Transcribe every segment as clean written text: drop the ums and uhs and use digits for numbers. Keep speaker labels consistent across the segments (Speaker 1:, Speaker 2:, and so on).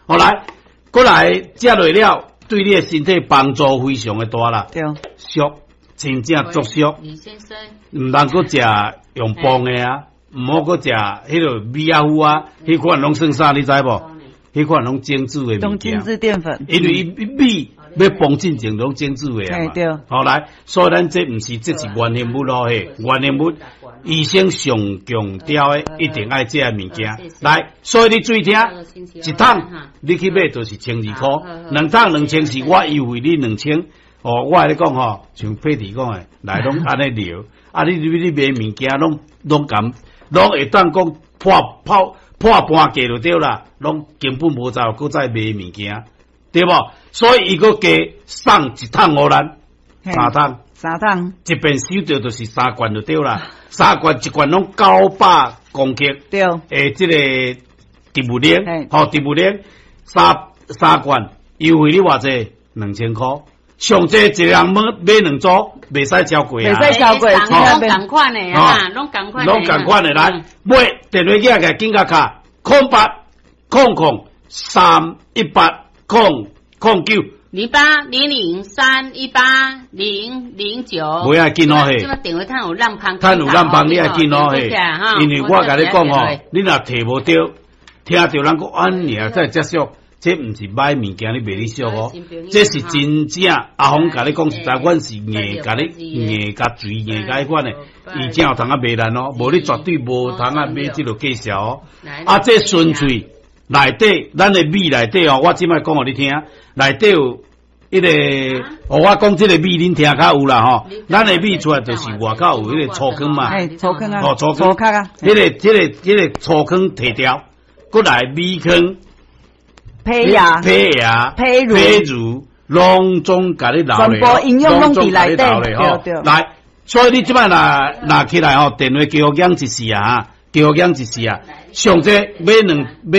Speaker 1: 好來，過來食落了，對你的身體幫助非常的大啦。俗，真正足俗。
Speaker 2: 李先生，
Speaker 1: 毋通閣食用磅的啊，毋好閣食彼个米仔糊啊，彼款攏算啥？你知無？彼款攏精緻的物件。
Speaker 3: 精緻澱粉。
Speaker 1: 因為伊米欲磅進前攏精緻的啊嘛。
Speaker 3: 對。
Speaker 1: 好來，所以咱這毋是，這是原形物咯嘿，原形物。醫生上強調的，一定愛這个物件。來，所以你注意聽，一桶你去買就是千二箍，兩桶2000是我優惠你2000。哦，我共你講吼，像佩蒂講的，來攏按呢聊，啊你你買物件攏攏共，攏會當講破破破半價就對啦，攏根本無在閣再買物件，對無？所以伊閣加送一桶予咱，三桶，
Speaker 3: 三桶，
Speaker 1: 一遍收著就是三罐就對啦，三罐一罐攏900公克，欸，這個植物奶，吼，植物奶三三罐優惠你偌濟？2000箍。上濟一個人買買兩組，袂使超過啊！
Speaker 3: 袂使超過，
Speaker 2: 攏仝款的啊，攏仝款，
Speaker 1: 攏仝款的來買電話機來緊共敲08000318009
Speaker 2: 0800318009。
Speaker 1: 袂愛緊哦嘿，
Speaker 2: 這擺電話趁有浪芳，
Speaker 1: 趁有浪芳，你愛緊哦嘿，因為我共你講吼，你若提無著，聽著人講按呢才會遮俗。這毋是買物件，你賣你俗哦。這是真正阿峰共你講實在，阮是硬共你硬共嘴硬共彼款的，伊才有通啊賣咱哦。無你絕對無通啊買這个介紹哦。啊，這純粹內底，咱的米內底哦，我這擺講予你聽，內底有彼个，哦，我講這个米恁聽較有啦吼。咱的米出來就是外口有彼个粗糠嘛，
Speaker 3: 粗糠啊，
Speaker 1: 哦，粗糠
Speaker 3: 啊，
Speaker 1: 彼个、這个、這个粗糠提掉，閣來米糠。
Speaker 3: 胚芽、
Speaker 1: 胚芽、
Speaker 3: 胚乳、
Speaker 1: 胚乳，攏總共你留
Speaker 3: 全部營養攏佇內底，
Speaker 1: 對對。來，所以你這擺若拿起來吼，電話叫養一時啊，叫養一時啊，上濟買兩買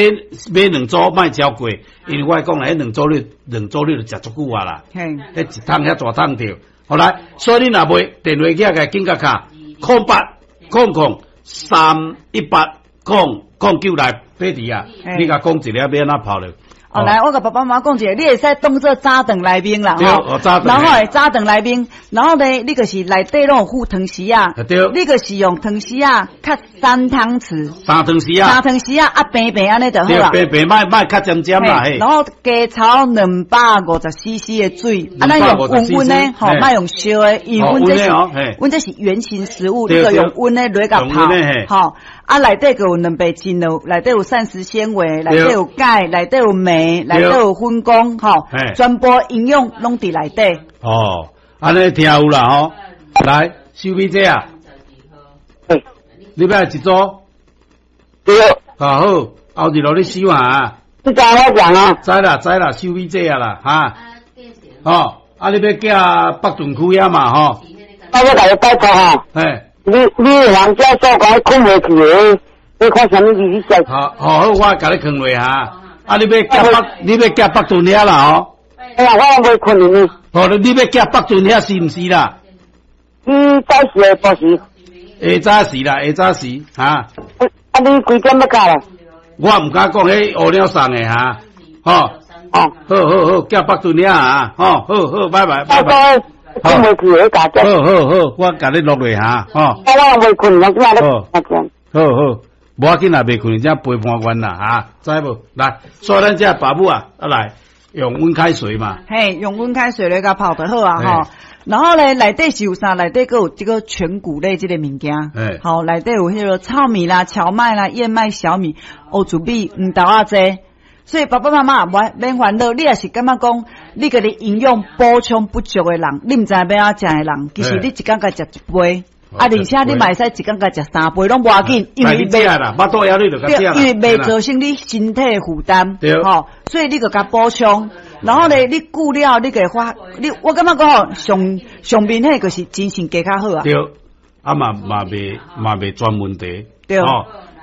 Speaker 1: 買兩組，莫超過，因為我講啦，彼兩組你兩組你就食足久啊啦，彼一桶遐大桶著。好來，所以你若買電話機來緊共敲0800318009來佩蒂啊，你共講一下欲按怎泡咧？
Speaker 3: 哦，來，我共爸爸媽媽講一下，你會使當做早頓來賓啦，
Speaker 1: 吼，
Speaker 3: 然後早頓來賓，然後呢，你就是內底攏有附湯匙仔，你就是用湯匙仔較三湯匙，
Speaker 1: 三湯匙仔，
Speaker 3: 三湯匙仔啊，平平按呢就好啦，
Speaker 1: 平平莫莫較尖尖啦，
Speaker 3: 然後加炒250 CC 的水，啊，咱用溫溫的，吼，莫用燒的，因為阮這是，阮這是原型食物，你就用溫的來共泡，吼。啊，內底閣有兩倍精油，內底有膳食纖維，內底有鈣，內底有鎂，內底有粉光，吼，全部營養攏佇內底。
Speaker 1: 哦，按呢聽有啦吼，來，收尾這啊，你欲愛一組？
Speaker 4: 對。
Speaker 1: 啊好，後日落你收啊。
Speaker 4: 你知我講啊？
Speaker 1: 知啦知啦，收尾這啊啦，哈。哦，啊你欲寄北屯區遐嘛吼？
Speaker 4: 啊，我共你拜託吼。
Speaker 1: 嘿。
Speaker 4: 你你人家說講睏袂去的，你看啥物字？你
Speaker 1: 好，好，好，我共你囥落哈。啊，你欲寄北，你欲寄北屯遐啦吼？
Speaker 4: 哎呀，我袂睏呢。
Speaker 1: 哦，你欲寄北屯遐是毋是啦？
Speaker 4: 你早時下晡時？
Speaker 1: 下早時啦，下早時哈。
Speaker 4: 啊，你幾點欲到啦？
Speaker 1: 我毋敢講，彼烏鳥送的哈，吼。
Speaker 4: 哦。
Speaker 1: 好好好，寄北屯遐啊，吼，好好，拜拜，拜拜。
Speaker 4: 睏袂去，彼家
Speaker 1: 好好好，我共你錄落哈，吼。
Speaker 4: 啊，我袂睏，我今仔日。
Speaker 1: 好好，無要緊啦，袂睏，才陪伴阮啦，哈，知無？來，所以咱這爸母啊，啊來用溫開水嘛。
Speaker 3: 嘿，用溫開水來共泡就好啊，吼。然後咧，內底是有啥？內底閣有這個全穀類這個物件。好，內底有彼個糙米啦、蕎麥啦、燕麥、小米、烏薯米、黃豆仔這。所以爸爸媽媽免煩惱，你也是感覺講，你家己營養補充不足的人，你毋知欲按怎食的人，其實你一工共食一杯，啊，而且你嘛會使一工共食三杯，攏無要緊，因為袂，因為袂造成你身體的負擔，吼，所以你就共補充，然後咧，你久了你就會發，你我感覺講吼，上上明顯就是精神加較好啊。
Speaker 1: 對，啊嘛嘛袂嘛袂全問題，
Speaker 3: 對。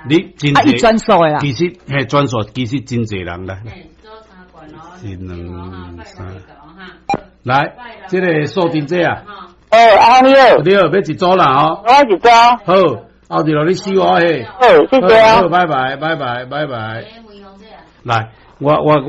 Speaker 1: 你真
Speaker 3: 啊，伊專屬的啦。
Speaker 1: 其實嘿，專屬其實真濟人來。一兩三，來，這個素貞姐啊。
Speaker 4: 哦，阿你好。
Speaker 1: 你好，欲一組啦吼。
Speaker 4: 我一組。
Speaker 1: 好，後日落你收我嘿。
Speaker 4: 好，謝謝啊。
Speaker 1: 好，拜拜，拜拜，拜拜。來，我我。